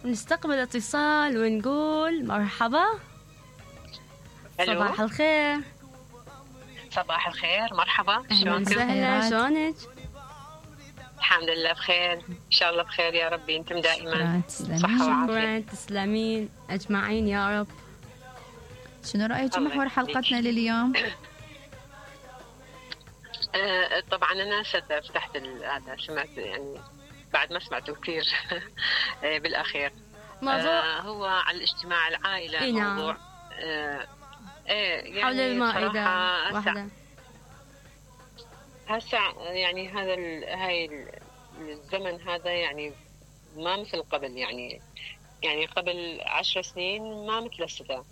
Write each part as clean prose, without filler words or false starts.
نستقبل اتصال ونقول مرحبا. ألو. صباح الخير. صباح الخير، مرحبا. أهلا وسهلا، شلونك؟ الحمد لله بخير، إن شاء الله بخير يا ربي، أنتم دائما صحة وعافية. تسلمين أجمعين يا رب. شنو رأيك محور حلقتنا لليوم؟ طبعا أنا فتحت هذا، سمعت يعني بعد ما سمعته كثير بالأخير. موضوع هو على الاجتماع العائلة. نعم. موضوع يعني حول المائدة واحدة. هسه يعني هاي الزمن هذا يعني ما مثل قبل، يعني قبل 10 سنين ما مثل هسه.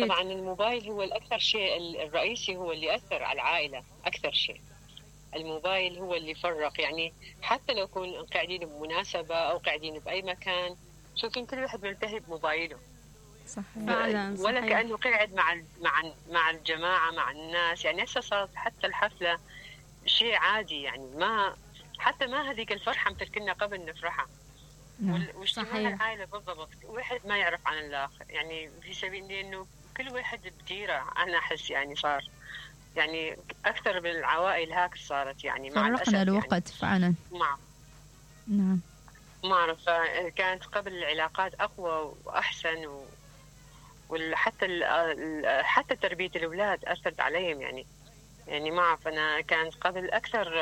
طبعا الموبايل هو الأكثر شيء الرئيسي، هو اللي أثر على العائلة أكثر شيء. الموبايل هو اللي فرق، يعني حتى لو كون قاعدين بمناسبة أو قاعدين بأي مكان، شوفين كل واحد ملتهي بموبايله. صحيح. ولا كأنه قاعد مع الجماعة مع الناس. يعني هسه صارت حتى الحفلة شيء عادي، يعني ما حتى ما هذيك الفرحة مثل كنا قبل نفرحها. واجتماع العائلة بالضبط، واحد ما يعرف عن الآخر، يعني في سبيل إنه كل واحد بديره. أنا أحس يعني صار يعني أكثر بالعوائل هاك صارت، يعني مع الأسف فرقنا الوقت يعني فعلا. نعم. ما أعرف، كانت قبل العلاقات أقوى وأحسن حتى تربية الأولاد أثرت عليهم. يعني ما أعرف، أنا كانت قبل أكثر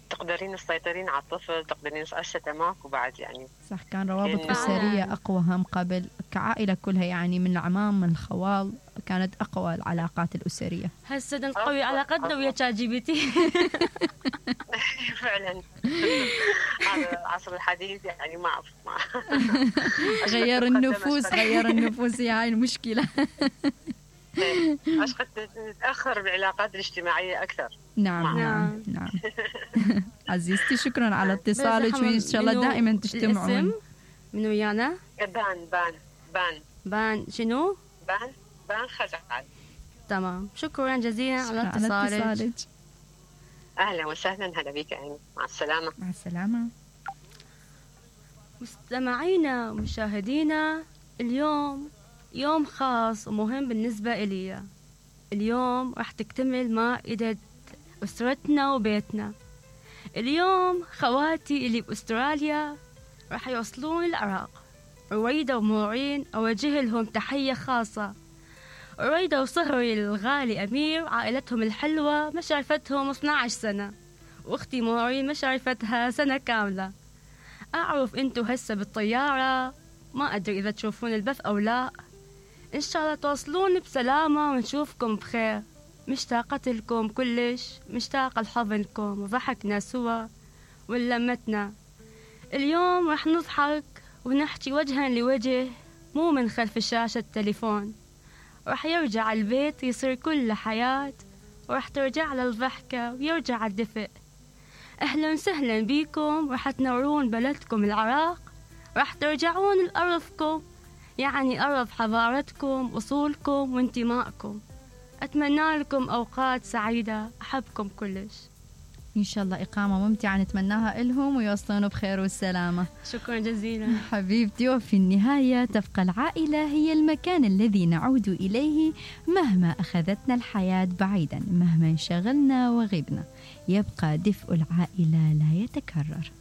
تقدرين تسيطرين على الطفل، تقدرين. هسه ماكو بعد يعني. صح، كان روابط أسرية أقوى هم قبل، كعائلة كلها يعني من العمام من الخوال، كانت أقوى العلاقات الأسرية. هسه نقوي علاقتنا ويا شات جي بي تي. فعلا هذا العصر الحديث، يعني ما أعرف غير النفوس هي هاي المشكلة. أشقد تتأخر بالعلاقات الاجتماعية أكثر. نعم. عزيزتي شكرا على اتصالك، وإن شاء الله دائما تجتمعون. من ويانا؟ بان شنو؟ بان خزعل. تمام، شكرا جزيلا على اتصالك. أهلا وسهلا، هلا بك عيني، مع السلامة. مع السلامة. مستمعينا ومشاهدينا، اليوم يوم خاص ومهم بالنسبة إلي. اليوم راح تكتمل مائدة أسرتنا وبيتنا. اليوم خواتي اللي بأستراليا راح يوصلون العراق. رويدة ومورين أوجه لهم تحية خاصة. رويدة وصهري الغالي أمير عائلتهم الحلوة ما شايفتهم 12 سنة، وأختي مورين ما شايفتها سنة كاملة. أعرف أنتو هسه بالطيارة، ما أدري إذا تشوفون البث أو لا. إن شاء الله توصلون بسلامة ونشوفكم بخير. مشتاقة لكم كلش، مشتاقة لحضنكم وضحكنا سوا ولمتنا. اليوم رح نضحك ونحكي وجها لوجه، مو من خلف شاشة التليفون. رح يرجع البيت يصير كله حياة، ورح ترجع للضحكة ويرجع الدفء. أهلا وسهلا بيكم، رح تنورون بلدكم العراق، رح ترجعون لأرضكم، يعني أرض حضارتكم أصولكم وانتمائكم. أتمنى لكم أوقات سعيدة، أحبكم كلش. إن شاء الله إقامة ممتعة نتمناها لهم ويوصلون بخير والسلامة. شكرا جزيلا حبيبتي. وفي النهاية تبقى العائلة هي المكان الذي نعود إليه مهما أخذتنا الحياة بعيدا، مهما انشغلنا وغبنا، يبقى دفء العائلة لا يتكرر.